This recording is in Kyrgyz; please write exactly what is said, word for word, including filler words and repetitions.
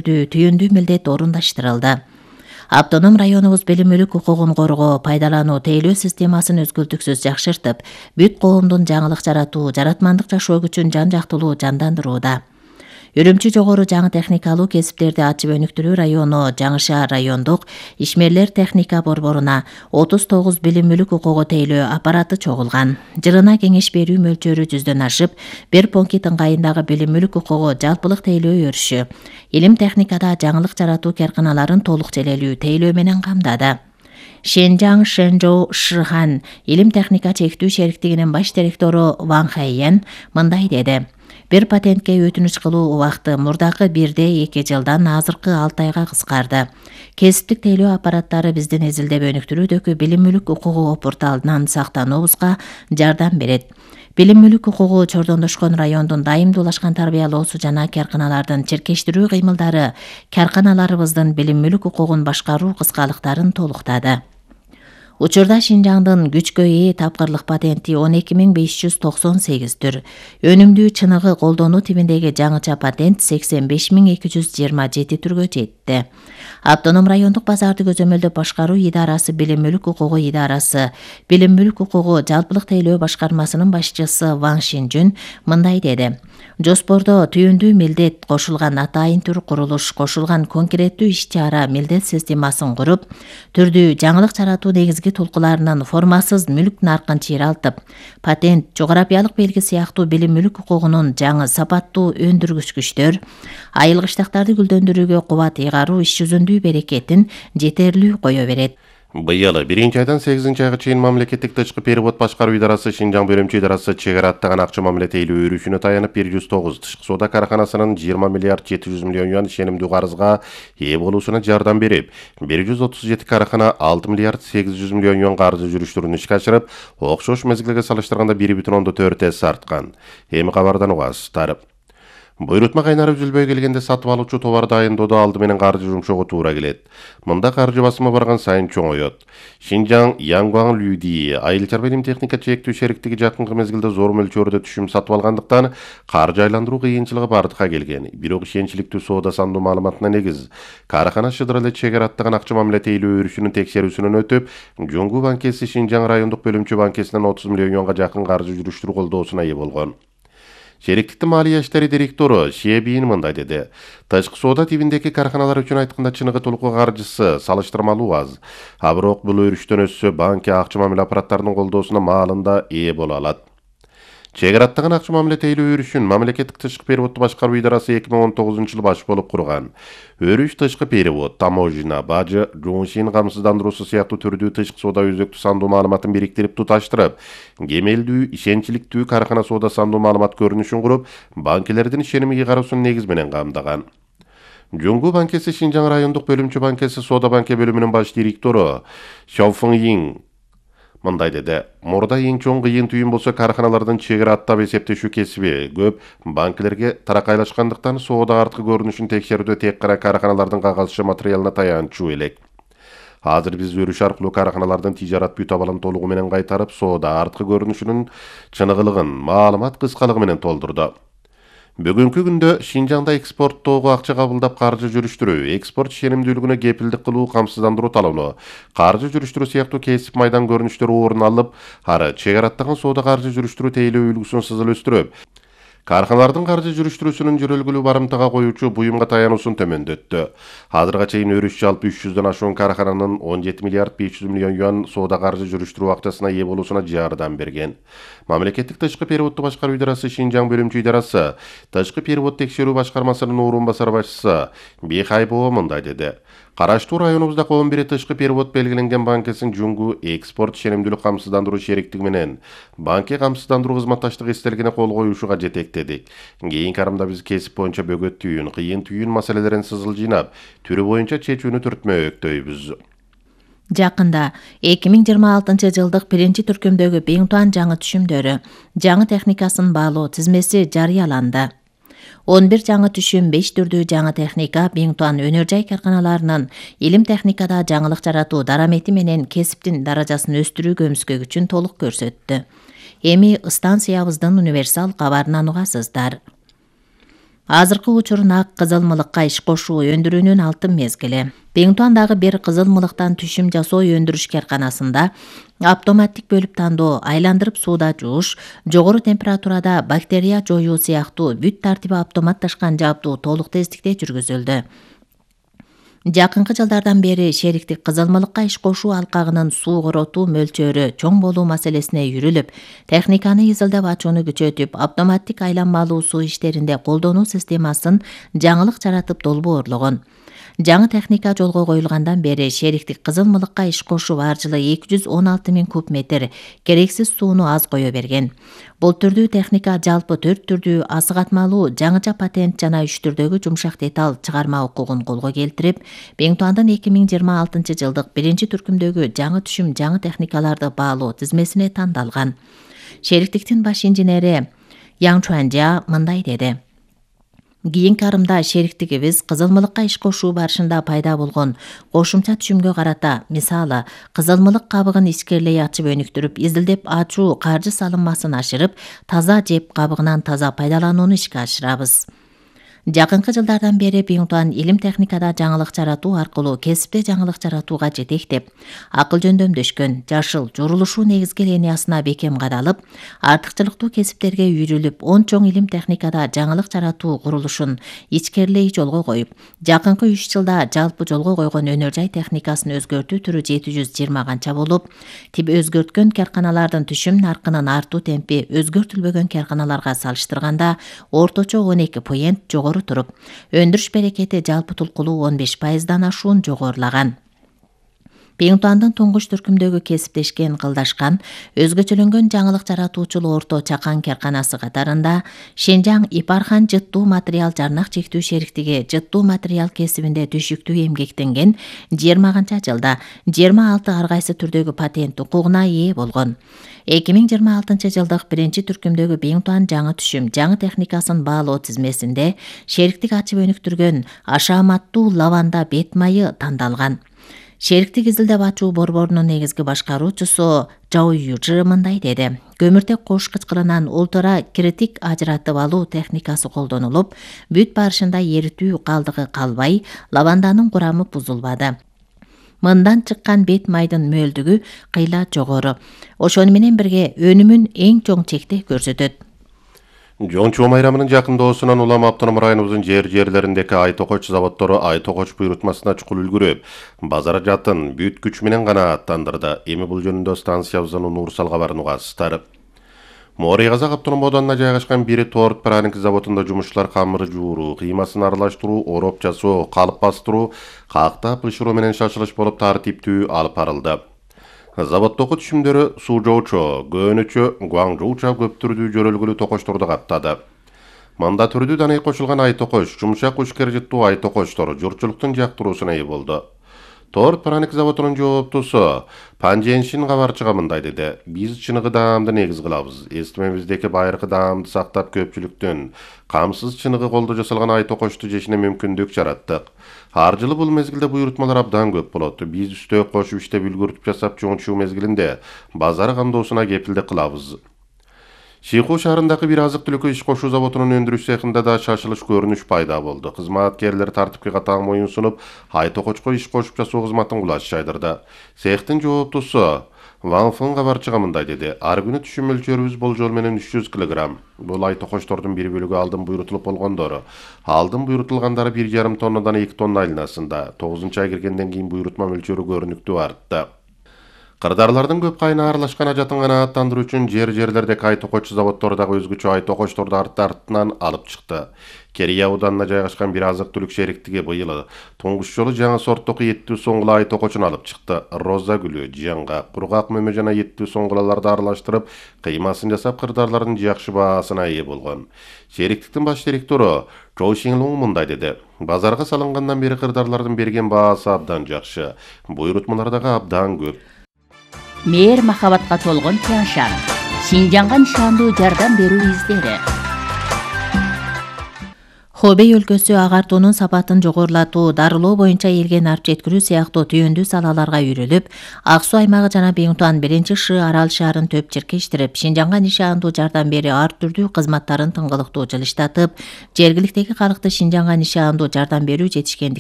түйүндүү милдет орундаштырылды. Автоном районубуз билим мүлүк укугун коргоо, пайдалануу, тейлөө системасын өзгөлтүксүз жакшыртып, бүт коомдун жаңылык жаратуу, жаратмандык жашоо күчүн жан-жактылуу жандандырууда. Үрүмчү жогору жаңы техникалуу кесиптерди ачып өнүктүрүү району Жаңы Шаар райондук ишмерлер техника борборуна отуз тогуз билим мүлүк укугу тейлөө аппараты чогулган. Жырына кеңеш берүү мөлчөрү жүздөн ашып, бир понкит ыңгайындагы билим мүлүк укугу жалпылык тейлөө өрүшү, илим техникада жаңылык жаратуу карканаларын толук желелүү тейлөө менен камдады. Шэнжаң Шэнжоу Шыхан илим техника чектүү шериктигинин баш директору Ван Хайен мындай деди. Бир патентке өтүнүч кылуу убакыты мурдакы бирде эки жылдан азыркы алты айга кыскарды. Кесиптик тейлөө аппараттары биздин изилдеп өнүктүрүүдөгү билим мүлүк укугу опурталынан сактануубузга жардам берет. Билим мүлүк укугу чордондошкон райондун дайымдуулашкан тарбиялоосу жана карканалардын чиркештирүү кыймылдары карканаларыбыздын билим мүлүк укугун башкаруу кыскалыктарын толуктады. Учурда Шинжаңдын күчкө ээ тапкырлык патенти он эки миң беш жүз токсон сегиз түр. Өнүмдүү чыныгы колдонуу тибиндеги жаңыча патент сексен беш миң эки жүз жыйырма жети түргө жетти. Автоном райондук базарды көзөмөлдөп башкаруу идарасы билим мүлүк укугу идарасы, билим мүлүк укугу жалпылык тейлөө башкармасынын башчысы Ван Шинжүн мындай деди. Жоспордо түйүндүү милдет кошулган атайын түр курулуш, кошулган конкреттүү иш-чара милдет системасын куруп, түрдүү жаңылык жаратуу негизги тулкуларынын формасыз мүлк наркын чыйралтып, патент, жогорапиялык белги сыяктуу билим мүлүк укугунун жаңы сапаттуу өндүргүч күчтөр, айылгычтактарды гүлдөндүрүүгө кубат ыйгаруу иш жүзүндүү берекетин жетерлүү кое берет. Быйыл биринчи айдан сегизинчи айга чейин мамлекеттик тышкы перевод башкаруу идарасы Шинжаң бөлүмчө идарасы чек ара аттаган акча мамиле тейлөө өрүшүнө таянып бир жүз тогуз тышкы соода карканасынын жыйырма миллиард жети жүз миллион юан ишенимдүү карызга ээ болуусуна жардам берип, бир жүз отуз жети каркана алты миллиард сегиз жүз миллион юан каржы жүрүштөрүн ишке ашырып, окшош мезгилге салыштырганда бир бүтүн ондон төрт эсе арткан. Эми кабардан угасыздар. Буйрутма кайнарып үзүлбөй келгенде сатып алуучу товарды айындоодо алды менен каржы жумшоого туура келет. Мында каржы басымы барган сайын чоңоет. Шинжаң Янгуан Люди айыл чарба илим техника чектүү шериктиги жакынкы мезгилде зор мөлчөрдө түшүм сатып алгандыктан каржы айландыруу кыйынчылыгы бардыкка келген. Бирок ишенчиликтүү соода сандуу маалыматына негиз каркана шыдыр эле чек ара аттаган акча мамиле тейлөө өрүшүнүн текшерүүсүнөн өтүп, Жоңгу банкеси Шинжаң райондук бөлүмчө банкесинен отуз миллион юанга жакын каржы жүрүштүрүү колдоосуна ээ болгон. Шериктиктин малия иштери директору Шебин мындай деди. Тышкы соода тибиндеги карканалар үчүн айтканда чыныгы толугу каржысы салыштырмалуу аз. А бирок бул өрүштөн өссө банк акча мамиле аппараттарынын колдоосуна маалында ээ боло алат. Чек ара аттаган акча мамиле тейлөө өрүшүн мамлекеттик тышкы переводду башкаруу идарасы эки миң он тогузунчу жылы баш болуп курган. Өрүш тышкы перевод, таможня, бажы, жууншин камсыздандыруусу сыяктуу түрдүү тышкы соода өзөктүү сандуу маалыматын бириктирип туташтырып, кемелдүү, ишенчиликтүү каркана соода сандуу маалымат көрүнүшүн куруп, банкилердин ишеними ыйгаруусун негиз менен камдаган. Жоңгу банкеси Шинжаң райондук бөлүмчө банкеси соода банке бөлүмүнүн баш директору Шаофың мындай деди. Мурда эң чоң кыйын түйүн болсо карканалардын чек ара аттап эсептешүү кесиби көп банкилерге таракайлашкандыктан соода арткы көрүнүшүн текшерүүдө тек гана карканалардын кагазча материалына таянчу элек. Азыр биз өрүш аркылуу карканалардын тижарат бүт абалын толугу менен кайтарып, соода арткы көрүнүшүнүн чыныгылыгын, маалымат кыскалыгы менен толтурду. Бүгүнкү күндө Шинжаңда экспорттоого акча кабылдап каржы жүрүштүрүү, экспорт ишенимдүүлүгүнө кепилдик кылуу, камсыздандыруу талоону, каржы жүрүштүрүү сыяктуу кесип майдан көрүнүштөрү орун алып, ары чек ара аттаган соода каржы жүрүштүрүү тейлөө үлгүсүн сызыл өстүрүп, карканалардын каржы жүрүштүрүүсүнүн жүрөлгүлүү барымтага коюучу буюмга таянуусун төмөндөттү. Азырга чейин өрүш жалпы үч жүздөн ашуун каркананын он жети миллиард беш жүз миллион юан соода каржы жүрүштүрүү акчасына ээ болуусуна жардам берген. Мамлекеттик тышкы переводду башкаруу идарасы Шинжаң бөлүмчө идарасы тышкы перевод текшерүү башкармасынын орун басар башчысы Бихайбоо мындай деди. Караштуу районубузда он бир тышкы перевод белгиленген банкесин Жоңгу экспорт ишенимдүүлүк камсыздандыруу шериктиги менен банке камсыздандыруу кызматташтык эстелигине кол коюушуга жетектедик. Кийинки арымда биз кесип боюнча бөгөт түйүн, кыйын түйүн маселелерин сызыл жыйнап, түрү боюнча чечүүнү түртмөктөйбүз. Жакында эки миң жыйырма алтынчы жылдык биринчи түркүмдөгү Биңтуан жаңы түшүмдөрү, жаңы техникасын баалоо тизмеси жарыяланды. он бир жаңы түшүм, беш түрдүү жаңы техника Биңтуан өнөр жай карканаларынын илим техникада жаңылык жаратуу дарамети менен кесиптин даражасын өстүрүү көмүскө күчүн толук көрсөттү. Эми станциябыздын универсал кабарынан угасыздар. Азыркы учурун ак кызылмылыкка иш кошуу өндүрүүнүн алтын мезгили. Беңтуандагы бир кызылмылыктан түшүм жасоо өндүрүш карканасында автоматтик бөлүп тандоо, айландырып сууда жууш, жогору температурада бактерия жоюу сыяктуу бүт тартиби автоматташкан жабдуу толук тездикте жүргүзүлдү. Жакынкы жылдардан бери шериктик кызылмылыкка иш кошуу алкагынын суу коротуу мөлчөрү чоң болуу маселесине үйрүлүп, техниканы изилдеп ачууну күчөтүп, автоматтик айланмалуу суу иштеринде колдонуу системасын жаңылык жаратып долбоорлогон. Жаңы техника жолго коюлгандан бери шериктик кызылмылыкка иш кошуу ар жылы эки жүз он алты миң куб метр керексиз сууну аз кое берген. Бул түрдүү техника жалпы төрт түрдүү асык атмалуу жаңыча патент жана үч түрдөгү жумшак деталь чыгарма укугун колго келтирип, Беңтуандын эки миң жыйырма алтынчы жылдык биринчи түркүмдөгү жаңы түшүм жаңы техникаларды баалоо тизмесине тандалган. Шериктиктин баш инженери Яң Чуанжа мындай деди: Кийинки арымда шериктигибиз кызылмылыкка иш кошуу барышында пайда болгон кошумча түшүмгө карата, мисалы, кызылмылык кабыгын ичкерлей ачып өнүктүрүп, изилдеп ачуу каржы салынмасын ашырып, таза жеп кабыгынан таза пайдаланууну ишке ашырабыз. Жакынкы жылдардан бери Беңтуан илим техникада жаңылык жаратуу аркылуу кесипте жаңылык жаратууга жетектеп, акыл жөндөмдөшкөн, жашыл, жорулушуу негизги линиясына бекем кадалып, артыкчылыктуу кесиптерге үйрүлүп, он чоң илим техникада жаңылык жаратуу курулушун ичкерлей жолго коюп, жакынкы үч жылда жалпы жолго койгон өнөр жай техникасын өзгөртүү түрү жети жүз жыйырма канча болуп, тип өзгөрткөн карканалардын түшүм наркынын артуу темпи өзгөртүлбөгөн карканаларга салыштырганда орточо он эки поент жогору туруп, өндүрүш берекети жалпы тулкулуу он беш пайыздан ашуун жогорулаган. Беңтуандын туңгуч түркүмдөгү кесиптешкен, кылдашкан, өзгөчөлөнгөн жаңылык жаратуучул орто чакан карканасы катарында Шенжаң Ипархан жыттуу материал жарнак чектүү шериктиги жыттуу материал кесибинде түшүктүү эмгектенген жыйырма канча жылда жыйырма алты ар кайсы түрдөгү патент укугуна ээ болгон. эки миң жыйырма алтынчы жылдык биринчи түркүмдөгү Беңтуан жаңы түшүм жаңы техникасын баалоо тизмесинде шериктик ачып өнүктүргөн ашааматтуу лаванда бет майы тандалган. Шериктик изилдеп ачуу борборунун негизги башкаруучусу Жау Южы мындай деди: Көмүртек кош кычкырынан ультра критик ажыратып алуу техникасы колдонулуп, бүт барышында эритүү калдыгы калбай, лаванданын курамы бузулбады. Мындан чыккан бет майдын мөлдүгү кыйла жогору. Ошону менен бирге өнүмүн эң чоң чекте көрсөтөт. Жончу майрамынын жакынdoосунан улам автоном районубуздун жер жерлериндеги ай токоч заводдору ай токоч буйрутмасына чукул үлгүрүп, базар жатын бүт күч менен гана аттандырды. Эми бул жөнүндө станциябыздын Нурсал кабарын угасыздар. Моорий Казак автоном оданына жайгашкан бир торт праник заводунда жумушчулар камыр жууруу, кыймасын аралаштыруу, ороп жасоо, калып бастыруу, кактап бышыруу менен шашылыш болуп тартиптүү алып барылды. Заводдогу түшүмдөрү Сужоучо, Гөөнүчө, Гуаңжоуча көп түрдүү жөрөлгүлүү токочторду каптады. Мында түрдүү данай кошулган ай токоч, жумшак ушкер жыттуу ай токочтор журтчулуктун жактыруусуна ээ болду. Торт праник заводунун жооптусу Панженшин кабарчыга мындай деди: Биз чыныгы даамды негиз кылабыз. Эстимебиздеги байыркы даамды сактап көпчүлүктүн камсыз чыныгы колдо жасалган ай токочту жешине мүмкүндүк жараттык. Ар жылы бул мезгилде буйрутмалар абдан көп болот. Биз үстөө кошуп иштеп үлгүртүп жасап жончуу мезгилинде базар кандоосуна кепилдик кылабыз. Шийху шаарындагы бир азык-түлүккө иш кошуу заводунун өндүрүш цехинде да шашылыш көрүнүш пайда болду. Кызматкерлер тартипке катаң моюн сунуп, ай токочко иш кошуп жасоо кызматын кулач жайдырды. Цехтин жооптусу Ван Фын кабарчыга мындай деди: Ар күнү түшүм мөлчөрүбүз болжол менен үч жүз килограмм. Бул ай токочтордун бир бөлүгү алдын буйрутулуп болгондору. Алдын буйрутулгандары бир жарым тоннадан эки тонна айланасында. тогузунчу ай киргенден кийин буйрутма мөлчөрү көрүнүктүү артты. Кырдаарлардын көп кайына аралашкан ажатын канааттандыруу үчүн жер жерлердеги ай токоч заводдору дагы өзгөчө ай токочторду арт-артынан алып чыкты. Керия ауданына жайгашкан бир азык-түлүк шериктиги быйыл туңгуч жолу жаңы сорттогу эттүү соңгула ай токочун алып чыкты. Роза гүлү, жаңга, кургак мөмө жана эттүү соңгулаларды аралаштырып, кыймасын жасап кырдаарлардын жакшы баасына ээ болгон. Шериктиктин баш директору Чоу Шинлуң мындай деди: Базарга салынгандан бери кырдаарлардын берген баасы абдан жакшы. Буйрутмалар дагы абдан көп. Мээр махабатка толгон Тяншан, Шинжаңга нишандуу жардам берүү издери. Хобей өлкөсү агартуунун сапатын жогорулатуу, дарылоо боюнча элге нарп жеткирүү сыяктуу түйүндүү салаларга үйрүлүп, Ак Суу аймагы жана Биңтуан биринчи Ш арал шаарын төп чиркештирип, Шинжаңга нишаандуу жардам берүү ар түрдүү кызматтарын тыңгылыктуу жылыштатып, жергиликтеги калкты Шинжаңга нишаандуу жардам берүү жетишкендиктерин